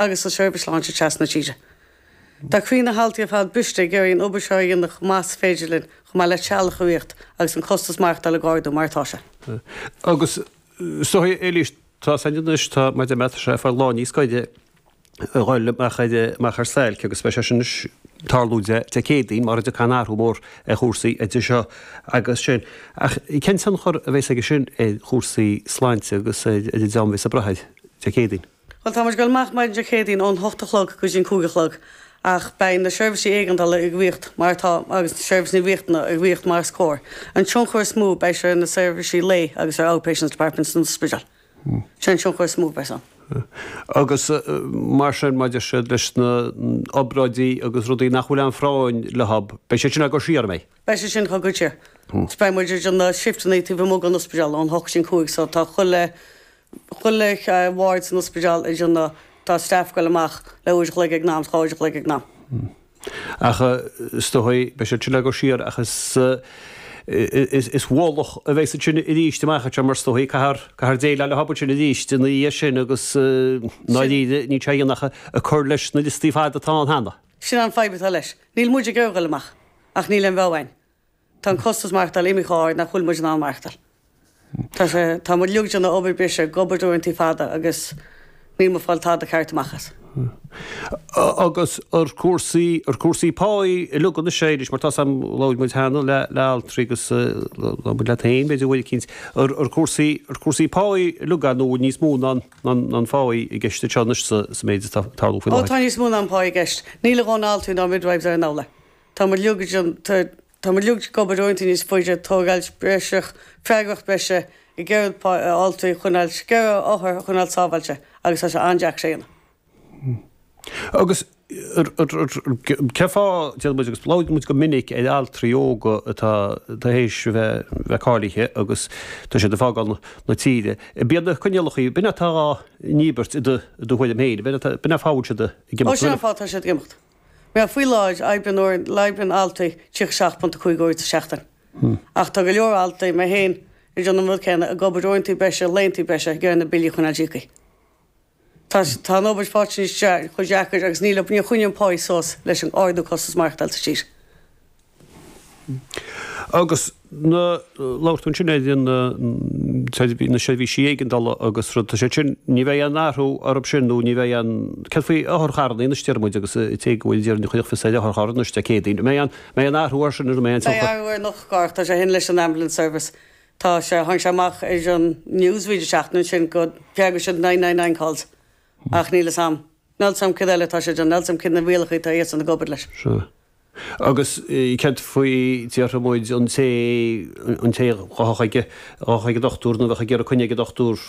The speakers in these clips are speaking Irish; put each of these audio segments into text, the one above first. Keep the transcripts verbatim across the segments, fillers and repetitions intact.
agus sa seirbhís sláinte trasna na tíre. Tá croí na haltraí ar fad briste ag iarraidh an obair seo a dhéanamh chomh maith is féidir linn, chomh maith le teaghlach a riar agus an costas maireachtála ag ardú mar atá sé. Agus is dóigh, Éilís, tá san anois, tá maidir le sé fáil lá níos gaire a dhul amach ar amach ar stailc agus beidh sé sin anois tarlú Dé Dé Céadaoin mar a dtiocfaidh an athrú mór ar chúrsaí idir seo agus sin. Ach cén tionchar a bheas aige sin ar chúrsaí sláinte agus ar an dream a bheas ag brath air Dé Céadaoin? Bhuel, tá muid ag dul amach maidin Dé Céadaoin ón hocht a chlog go dtí an cúig a chlog ach beidh na seirbhísí éigeandála ag rith mar atá agus na seirbhísí riachtanacha ag rith mar is cóir. An tionchar is mó beidh sé ar na seirbhísí lae agus ar outpatients departments san ospidéal. Sin an tionchar is mó a bheas ann. Agus mar sin maidir siad leis na obráidí agus rudaí nach bhfuil aon phráinn leo, beidh sé sin á gcur siar, an mbeidh? Beidh sé sin á gcur siar. Beidh muid ag déanamh shifteanna taobh amuigh den ospidéal ón hocht go dtí an cúig so tá chuile Chuile ward san ospidéal ag déanamh, tá staff ag goil amach le uair a chloig ag an am, dhá uair a chloig ag an am. Ach is dóigh, beidh siad sin á gcur siar ach is is ualach a bheas ansin arís amach anseo mar is dóigh, caithfear caithfear déileáil le hobair sin arís ina dhiaidh sin agus i ndáiríre níl sé a dhéanamh ach ag cur leis na liostaí fada atá ann cheana. Sin an fadhb atá leis. Níl muid ag iarraidh dul amach ach níl aon rogha againn. Tá an costas maireachtála imithe chomh hard nach bhfuil muid in ann maireachtáil. Tá sé, tá muid uilig ag déanamh obair breise, ag obair uaireanta fada agus níl muid ag fáil tada ceart amach as. Agus ar cúrsaí, ar cúrsaí páí uilig anois Éilís, mar tá 's a'm, labhair muid cheana le, le altraí agus labhair muid leat féin b'fhéidir uair eicínt, ar, ar cúrsaí, ar cúrsaí páí uilig nó bhfuil níos mó ná an, ná an, ná an pháí i gceist anseo anois sa, sa méid atá ag tarlú faoi Ó láthair? tá níos mó ná an pá i gceist. Níl a dhóthain altraí ná midwives ar an amhlaidh. Tá muid uilig ag déanamh, tá, Tá muid uilig ag obair uaireanta níos faide, tógáil breise, freagracht breise, ag iarraidh altraí a choinneáil, ag iarraidh othair a choinneáil sábháilte agus tá sé an-deacair sin a dhéanamh. Agus cén fáth, déarfaidh muid, agus labhraíonn muid go minic ar altraí óga atá tar éis a bheith bheith cáilithe agus tá siad ag fágáil na tíre. B'iad na coinníollacha, b'in atá á ndíbirt i do thuairim féin, b'in an fáth a bhfuil siad ag Ó imeacht. sin an fáth atá siad ag imeacht. Mar faoi láthair, oibríonn uair, oibríonn altraí tríocha seacht ponc a cúig uair sa seachtain. Ach tá go leor altraí, mé féin, ag déanamh an rud céanna, ag obair uaireanta breise, laethanta breise, ag iarraidh na billí a choinneáil íoctha. Tá, tá an obair faighte níos chomh deacair agus níl, níor choinnigh an pá suas leis an ardú costas maireachtáil sa tír. Agus na, labhair tú ansin ar na, na seirbhísí éigeandála agus rud, tá sé sin, ní bheidh aon athrú orthu sin nó ní bheidh aon, céard faoi otharcharranna anois deir muid agus an té go bhfuil déarfainn a chuirfeadh fios ar otharcharr anois Dé Céadaoin, an mbeidh aon, mbeidh aon athrú air sin nó an mbeidh aon Beidh tionchar? athrú ar an otharcharr, tá sé shin leis an ambulance service, tá sé, tháinig sé amach ar an news roinnt seachtain ansin go bhfreagróidh siad nine nine nine calls ach níl fhios a'm, níl fhios a'm céard eile atá sé ag déanamh, níl fhios a'm céard na rialacha atá iadsan ag obair leis. Sea. Agus céard faoi, déarfaidh muid, an té, an té a ghabhfadh ag, a ghabhfadh ag an dochtúir nó a bheadh ag iarraidh coinne ag an dochtúir,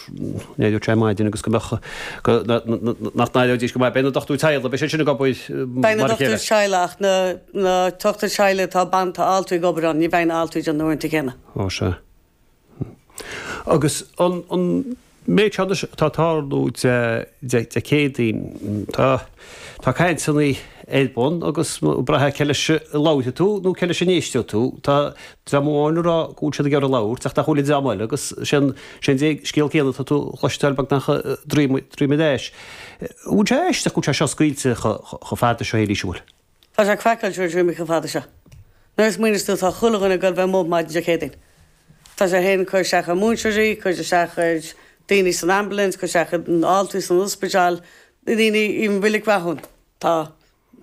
n-éireodh sé ar maidin agus go mbeadh, go, nach n-éireoidís go maith. Beidh na dochtúirí teaghlaigh, beidh siad sin ag obair Beidh na mar a chéile. dochtúirí teaghlaigh ach na, na dochtúirí teaghlaigh atá ban, tá altraí ag obair ann, ní bheidh na altraí ag déanamh na uaireanta céanna. Ó sea. Agus an, an méid seo anois atá ag tarlú Dé, Dé, Dé Céadaoin, tá, tá cainteanna ar bun agus braithfidh cé leis a labharfaidh tú nó cé leis a n-éisteoidh tú. Tá dream amháin ag rá go bhfuil siad ag iarraidh labhairt ach nach bhfuil an dream eile agus sé an, sé an scéal céanna atá tú a chloisteáil beagnach droim, droim ar ais. An bhfuil sé aisteach go bhfuil sé seo scaoilte chomh fada seo, Éilís, an bhfuil? Tá sé craiceáilte go bhfuil sé imithe chomh fada seo. Nuair a smaoiníos tú tá chuile dhuine ag goil bheith amuigh maidin Dé Céadaoin. Tá sé féin ag cur isteach ar múinteoirí, cur isteach ar daoine san ambulance, cur isteach ar altraí san ospidéal, daoine i Reilig Rathún. Tá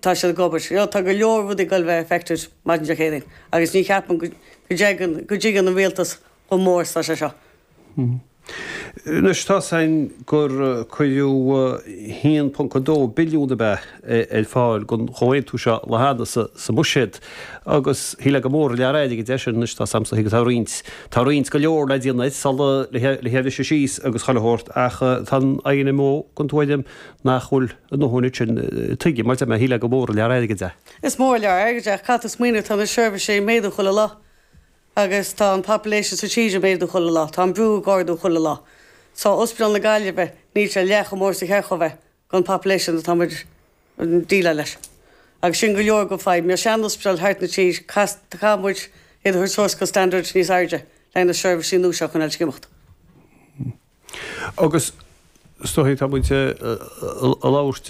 tá siad ag obair. You know, tá go leor rudaí ag goil bheith affected maidin Dé Céadaoin agus ní cheapaim go go dtuigeann go dtuigeann an rialtas chomh mór is tá sé seo. Anois tá 's againn gur cuireadh haon ponc a dó billiún ab ea ar fáil don chomhaontú seo lá cheana sa mbuiséad agus shílfeá gur mór an lear airgid é sin. Anois tá 's a'msa go tá roinnt, tá roinnt go leor le déanamh sula le hé a bhriseadh síos agus chuile shórt ach tá an INMO den tuairim nach bhfuil a ndóthain ansin. Tuigim, mar deir mé, shílfeá gur mór an lear airgid é. Is mór an lear airgid é ach caithfidh tú smaoineamh tá na seirbhísí ag méadú chuile lá. Agus tá an population sa tír ag méadú chuile lá, tá an brú ag ardú chuile lá. So, Ospidéal na Gaillimhe, níl sé leath chomh mór is a cheart dhó bheith, don population atá muid ag déileáil leis. Agus sin go leor go fadhb. Mar sean-ospidéal thart na tír, caithfidh muid iad a thabhairt suas go standard níos airde le na seirbhísí nua seo a choinneáil ag imeacht. Agus Is dóigh tá muid ag labhairt